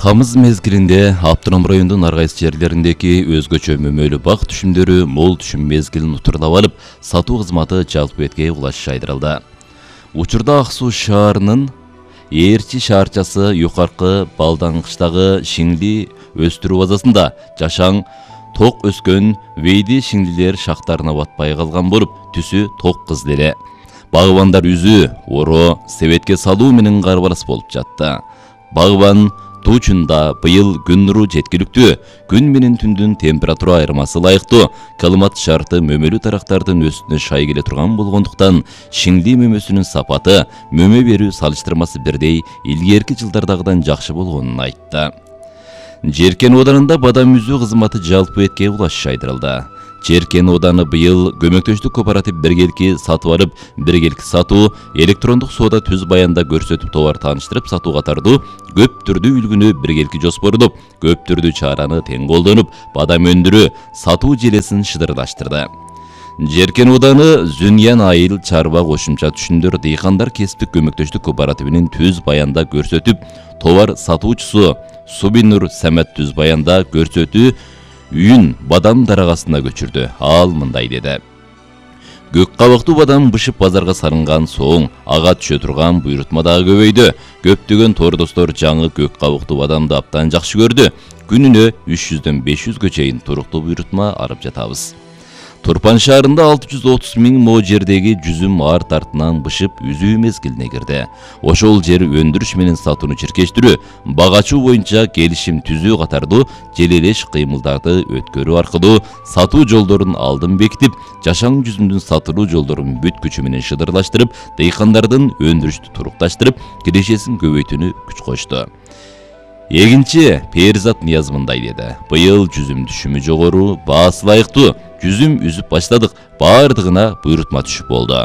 Тамыз мезгилинде Аптырам районунун ар кайсы жерлериндеги өзгөчө мөмөлүү бак түшүмдөрү мол түшүм мезгилин утурлап алып, сатуу кызматы жалпы бетке улаш айдырылды. Учурда Ак Суу шаарынын Ээрчи шаарчасы юкаркы Балдаңкычтагы Шиңли өстүрүү базасында жашаң ток өскөн вейди шиңлилер шактарына батпай калган болуп, түсү ток кызыл эле. Багыбандар үзүү, оро, себетке салуу менен карбалас болуп жатты. Багыбан туучунда быйыл күн нуру жеткиликтүү, күн менен түндүн температура айырмасы ылайыктуу, климат шарты мөмөлүү тарактардын өстүнө шай келе турган болгондуктан шиңли мөмөсүнүн сапаты мөмө берүү салыштырмасы бирдей илгерки жылдардагыдан жакшы болгонун айтты. Жеркен оданында бадам үзүү кызматы жалпы бетке улаш айдырылды. Жеркен ооданы быйыл көмөктөштүк кооператив биргелки сатып алып, биргелки сатуу, электрондук соода түз баянда көрсөтүп товар тааныштырып сатуу катардуу көп түрдүү үлгүнү биргелки жоспордоп, көп түрдүү чараны тең колдонуп, бадам өндүрүү, сатуу желесин шыдырдаштырды. Жеркен ооданы Зүньян айыл чарба кошумча түшүмдөр дыйкандар кесиптик көмөктөштүк кооперативинин түз баянда көрсөтүп, товар сатуучусу Субинур Самат түз баянда көрсөтүү үйүн бадам дарагасына көчүрдү. Ал мындай деди: Көк кабактуу бадам бышып базарга салынган соң ага түшө турган буйрутма дагы көбөйдү. Көптөгөн тордостор жаңы көк кабактуу бадамды аптан жакшы көрдү. Күнүнө 300дөн 500гө чейин туруктуу буйрутма алып жатабыз. Турпан шаарында 630 000 мо жердеги жүзүм арт артынан бышып үзүү мезгилине кирди. Ошол жер өндүрүш менен сатууну чиркештирүү, багачуу боюнча келишим түзүү катардуу желелеш кыймылдарды өткөрүү аркылуу сатуу жолдорун алдын бекитип, жашаң жүзүмдүн сатылуу жолдорун бүт күчү менен шыдырлаштырып, дыйкандардын өндүрүштү турукташтырып, кирешесин көбөйтүүнү күч кошту. Эгинчи Перизат Нияз мындай деди: Быйыл жүзүм түшүмү жогору, баасы ылайыктуу, жүзүм үзүп баштадык, баардыгына буйрутма түшүп болду.